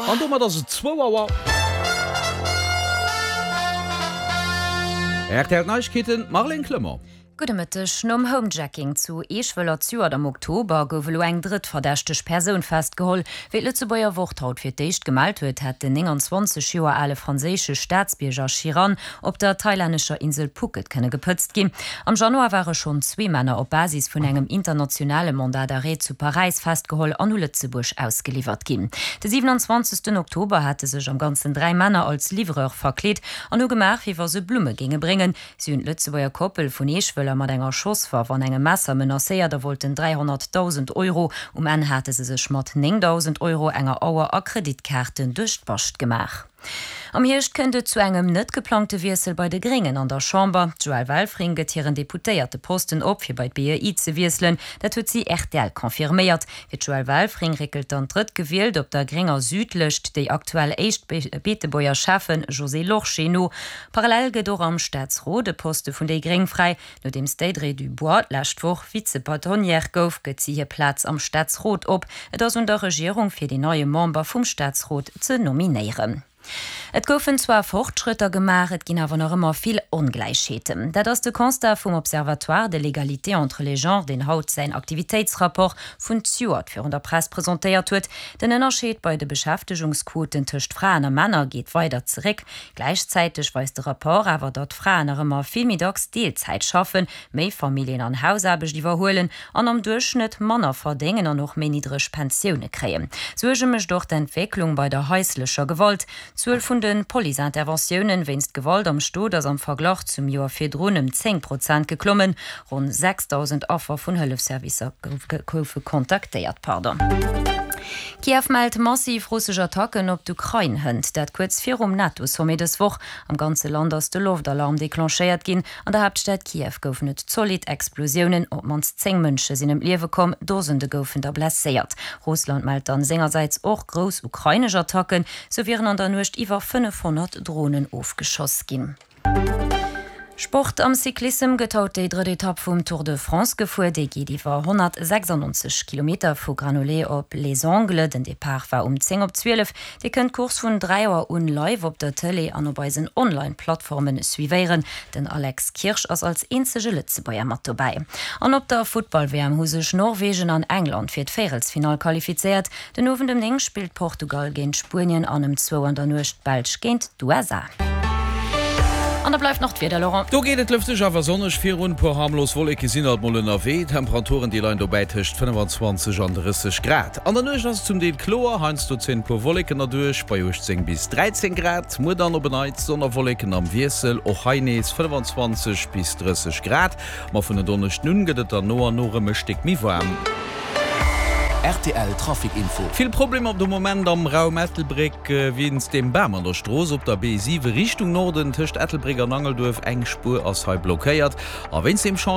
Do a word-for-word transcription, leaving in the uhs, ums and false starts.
An domat ass et zwou Auer. Rtl Neiegkeeten, Marlène Clement. Gudde Mëtteg. Nom Homejacking zu Eeschwëller zejoert am Oktober gouf elo eng drëtt verdächteg Persoun festgeholl. Wéi d'Lëtzebuerger Wort haut fir d'éischt gemellt huet, hätt den nénganzwanzeg Joer ale franséische Staatsbierger Chiran op der thailännescher Insel Phuket kënne gepëtzt ginn. Am Januar ware schonn zwee Männer op Basis vun engem internationale Mandat d'arrêt zu Paräis festgeholl an u Lëtzebuerg ausgeliwwert ginn. De siwenanzwanzegsten Oktober hate sech am Ganzen dräi Männer als Livreur verkleet an hu gemaach, wéi wa se Blumme géinge bréngen. Si hunn d'Lëtzebuerger Koppel vun Eeschwëller mat enger Schosswaff an engem Messer menacéiert a wollten dräihonnertdausend Euro. Um Enn hate se sech mat néngdausend Euro, enger Auer a Kreditkaarten duerch d'Bascht gemaach. Am Hierscht kënnt et zu engem net geplangte Wiessel bei de Gréngen an der Chamber. D'Joëlle Welfring gëtt hiren Deputéierteposten op, fir bei d'BEI ze wiesselen. Dat huet si rtl confirméiert. Fir d'Joëlle Welfring réckelt dann d'Drëttgewielt op der grénger Südlëscht, déi aktuell éischt Beetebuerger Schäffen Josée Lorsché no. Parallel gëtt och am Staatsrot e Poste vun déi gréng fräi. Nodeems d'Audrey Dubois d'lescht Woch Vize-Bâtonnière gouf, gëtt si hir Plaz am Staatsrot op. Et ass un der Regierung, fir deen neie Member vum Staatsrot ze nominéieren. Et goufen zwar Fortschrëtter gemaach, et ginn awer nach ëmmer vill Ongläichheeten. Dat ass de Constat vum Observatoire de l'égalité entre les genres, deen haut säin Aktivitéitsrapport vun zejoert virun der Press presentéiert huet. Den Ënnerscheed bei de Beschäftegungsquoten tëscht Fraen a Männer geet weider zeréck. Gläichzäiteg weist de Rapport awer, datt Fraen nach ëmmer vill méi dacks Deelzäit schaffen, méi Familljen an Hausaarbecht iwwerhuelen an am Duerchschnëtt manner verdéngen an och méi niddreg Pensioune kréien. Suerge mécht och d'Entwécklung bei der haislecher Gewalt. D'Zuel vun de Police-Interventiounen wéinst Gewalt am Stot ass am Verglach zum Joer virdrun ëm zéng Prozent geklommen. Ronn sechsdausend Affer vun Hëllefsservicer goufe kontaktéiert. Kiew mellt massiv russesch Attacken op d'Ukrain hënt, dat kuerz virum NATO-Sommet dës Woch. Am ganze Land ass de Loftalarm declenchéiert ginn. An der Haaptstad Kiew goufen et zolidd Explosiounen, op d'mannst zéng Mënsche sinn ëm d'Liewe komm, Dosende goufen der blesséiert. Russland mellt dann sengersäits och grouss ukrainesch Attacken, sou wieren an der Nuecht iwwer fënnefhonnert Dronen ofgeschoss ginn. Sport, Am Cyclissem gëtt haut déi drëtt Etapp vum Tour de France gefuer. Déi geet iwwer honnertsechsannonzeg Kilometer vu Granollers op Les Angles. Den Depart war um zéng op zwielef. Dir kënnt d'Course vun dräi Auer un live op der Tëlee an op eisen Online-Plattformen suivéieren. Den Alex Kirsch ass als eenzege Lëtzebuerger mat dobäi. An op der Futtball-W M hu sech Norwegen an England fir d'Véierelsfinall qualifizéiert. Den Owend ëm néng spillt Portugal géint Spuenien an ëm zwou an der Nuecht d'Belsch géint d'U S A. An da bleift nach d'Wieder, Laurent. Do geet et lëfteg awer sonneg virun, puer harmlos Wolleke sinn alt mol ënnerwee. D'Temperaturen déi leien dobäi tëscht fënnefanzwanzeg an drësseg Grad. An der Nuecht ass et zum Deel kloer, heiansdo zéien e puer Wolleken erduerch, bei uechtzéng bis dräizéng Grad. Muer dann op en Neits Sonn a Wolleken am Wiessel, och hei nees fënnefanzwanzeg bis drësseg Grad. Ma vun en Donneschden un gëtt et dann no an no erëm e Stéck méi waarm. Rtl Trafic Info. Vill Problemer de Moment am Raum Ettelbréck wéinst dem Bam an der Strooss op der B siwe Richtung Norden tëscht Ettelbréck an Angelduerf. Eng Spuer ass hei blockéiert a wéinst dem Chantier.